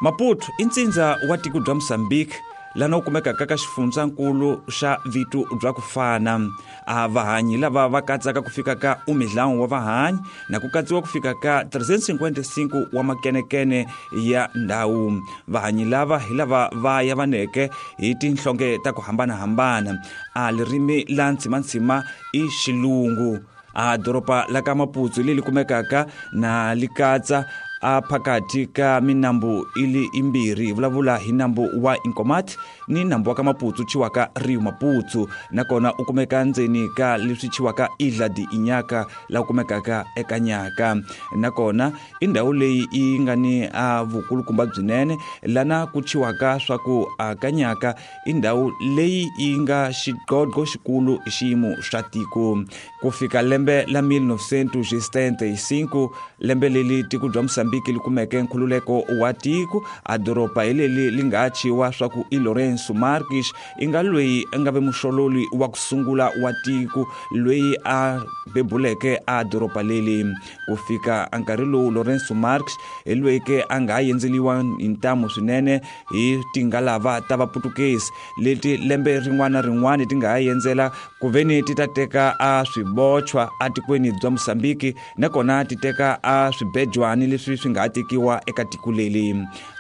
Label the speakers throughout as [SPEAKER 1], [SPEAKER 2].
[SPEAKER 1] Maputo i ntsindza wa tiko bya Mozambique lana wu kumekaka ka xifundzankulu xa vito bya ku fana. A vahanyi lava va katsaka ku fika ka umidlawu wa vahanyi na ku katsiwa ku fika ka 355 wa makenekene ya ndhawu. Vahanyi lava hi lava va yavaneke hi tinhlonge ta ku hambanahambana. A lirimi la ntsimantsima i xilungu. A doroba la ka Maputo leri kumekaka na li katsa a phakathi ka minambu ili imbirhi, hi vulavula hi nambu wa Inkomati ni nambu wa ka Maputo chiwaka Rio Maputo, nakona u kumeka ndzeni ka leswi chiwaka Ilha de Inhaca la kumekaka eka Nyaka. Nakona i ndhawu leyi yi nga ni a vukulukumba byinene lana ku chiwaka swa ku a ka Nyaka i ndhawu leyi yi nga xiqoqo xikulu hi xiyimo xa tiko. Ku fika lembe la 1975, lembe leli tiko bya Mosambiki li kumeke nkhululeko wa tiko, a doroba hi leli li nga chiwa swa ku i Lourenço Marques i nga loyi a nga ve muxololi wa ku sungula wa tiko loyi a bebuleke a doroba leli. Ku fika a nkarhi lowu Lourenço Marques hi loyi ke a nga yendzeliwa hi ntamu swinene hi tingalava ta vaputukezi leti lembe rin'wana na rin'wana ti nga ha yendzela ku veni ti ta teka a swibochwa atikweni bya Mosambiki, nakona ti teka a swibejwani leswi swi nga ha tekiwa eka tiko leli.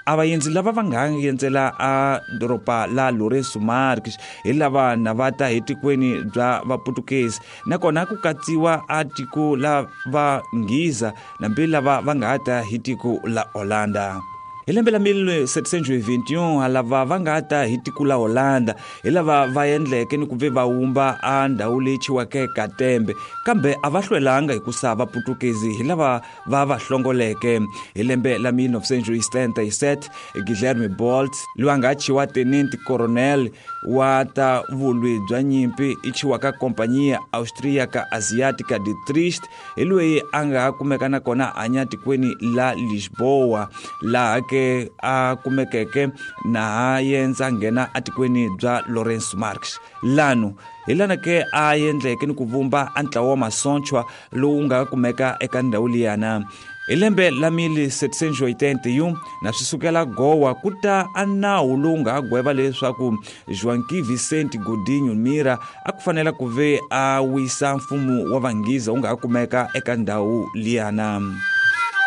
[SPEAKER 1] A vaendzi lava va nga yendzela a doroba la Lourenço Marques hi lava na va ta hi tikweni bya vaputukezi, nakona ku katsiwa a tiko la va Nghiza nambi lava va nga ta hi tiko la Holanda. Hi lembe la 1721 lava va nga ta hi tiko la Holanda hi lava va endleke ni ku ve va wumba a ndhawu leyi chiweke Katembe, kambe a va hlwelanga hikusa vaputukezi hi lava va va hlongoleke. Hi lembe la 1977 Guilherme Bolt loyi a nga chiwa tenente coronel wa ta vulwi bya nyimpi i chiwaka Companhia Austríaca Asiática de Trieste hi loyi a nga kumeka nakona hanya tikweni la Lisboa, laha ke a kumekeke na ha yendza nghena atikweni bya Lourenço Marques. Lano hi lana ke a endleke ni ku vumba a ntlawa wa masochwa lowu nga kumeka eka ndhawu liyana. Hi lembe la 1781 na swi sukela Goa ku ta a nawu lowu nga gweva leswaku Joaquim Vicente Godinho Mira a ku fanela ku ve a wisa mfumo wa Vanghiza wu nga kumeka eka ndhawu liyana.